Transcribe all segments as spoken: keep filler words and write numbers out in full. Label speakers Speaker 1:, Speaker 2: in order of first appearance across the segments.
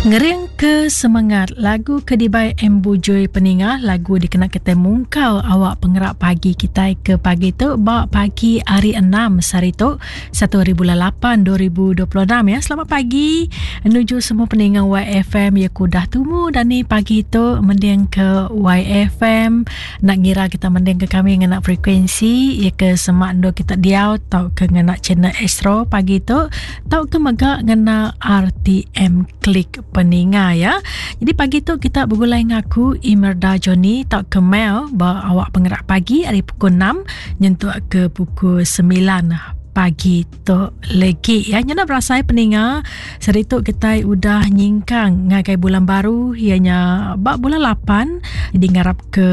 Speaker 1: Ngering ke semengat lagu ke dibai M Bujui peninga lagu dikena kita mungkal awak pengerak pagi kita ke pagi tu ba pagi hari enam sehari tu satu hari bulan lapan dua ribu dua puluh enam ya. Selamat pagi menuju semua peninga Y F M ya kudah tumu dan ni pagi tu mending ke Y F M nak ngira kita mending ke kami ngena frekuensi ya ke semak ndo kita diau tau ke ngena channel Astro pagi tu tau ke mega ngena R T M Klik peninga ya. Jadi pagi tu kita bergulai ngaku Imerda Johnny tau ke Mel ba awak pengerak pagi hari pukul enam nyentuk ke pukul sembilan pagi tu lagi ya. Nyana berasai peninga seritu kita udah nyingkang ngagai bulan baru ianya bak bulan lapan. Jadi ngarap ke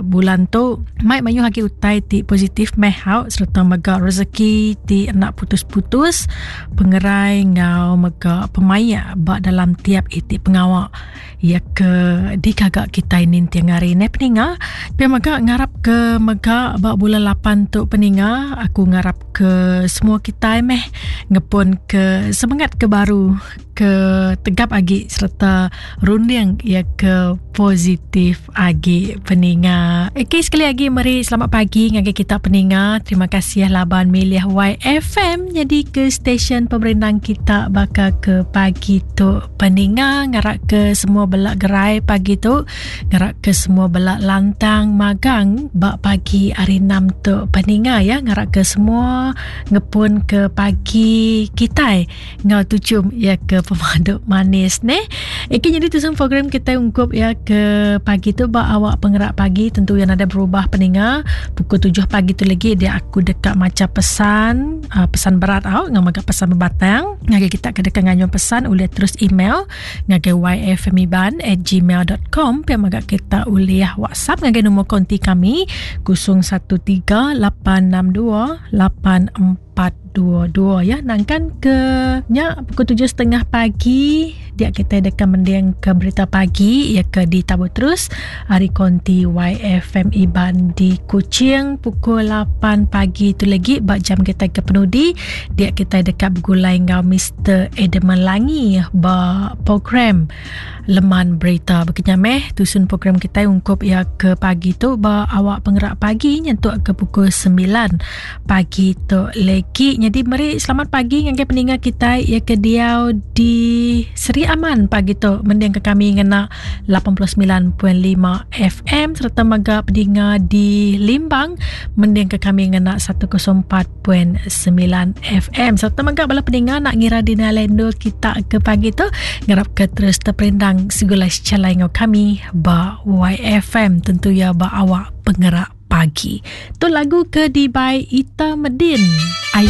Speaker 1: bulan tu mai mayu hagi utai ti positif meh hau serta mega rezeki ti nak putus-putus pengerai ngau mega pemayak bak dalam tiap itik pengawak ya ke dikagak kita ini tiang hari ni peninga. Pia mega ngarap ke mega bak bulan lapan tu peninga aku ngarap ke semua kita meh ngepun ke semangat ke baru ke tegap agi serta runding ya ke positif agi peninga. Okey, sekali lagi meri selamat pagi ngagai kita peninga. Terima kasih laban milih Y F M jadi ke stesen pemerindang kita bakal ke pagi tu peninga. Ngarak ke semua belak gerai pagi tu, ngarak ke semua belak lantang magang bak pagi hari enam tu peninga ya. Ngarak ke semua ngepun ke pagi kita ngau tucum ya ke pemaduk manis ne. Okey, jadi tu semua program kita ungkup ya ke pagi tu bak awak pengerak pagi tentu yang ada berubah peninga. Pukul tujuh pagi tu lagi dia aku dekat macam pesan, uh, pesan berat au ngau magak pesan berbatang. Ngagai kita ke dekat nganyuan pesan oleh terus email ngagai y f m iban at gmail dot com. Pia magak kita oleh WhatsApp ngagai nombor konti kami kosong satu tiga lapan enam dua lapan empat dua dua ya. Nangkan ke nya pukul tujuh setengah pagi dia kita dekat mending ke berita pagi ya ke di Tabu terus hari konti Y F M Iban di Kuching pukul lapan pagi tu lagi bak jam kita ke penudi dia kita dekat bergulai ngau Mister Edmund Langi ba program Leman Berita berkenyameh tusun program kita ungkup ya ke pagi tu ba awak pengerak pagi nyentuk ke pukul sembilan pagi tu lagi. Jadi meri selamat pagi ngagai peninga kita ya ke diau di Seri Aman pagi tu mending ke kami ngena lapan puluh sembilan perpuluhan lima F M serta mega peninga di Limbang mending ke kami ngena seratus empat perpuluhan sembilan F M serta mega bala peninga nak ngira di nalendo kita ke pagi tu ngarap ke terus terperindang segala calai ngau kami ba Y F M tentu ya ba awak pengerak pagi. Tu lagu ke di by Ita Medin. Ayah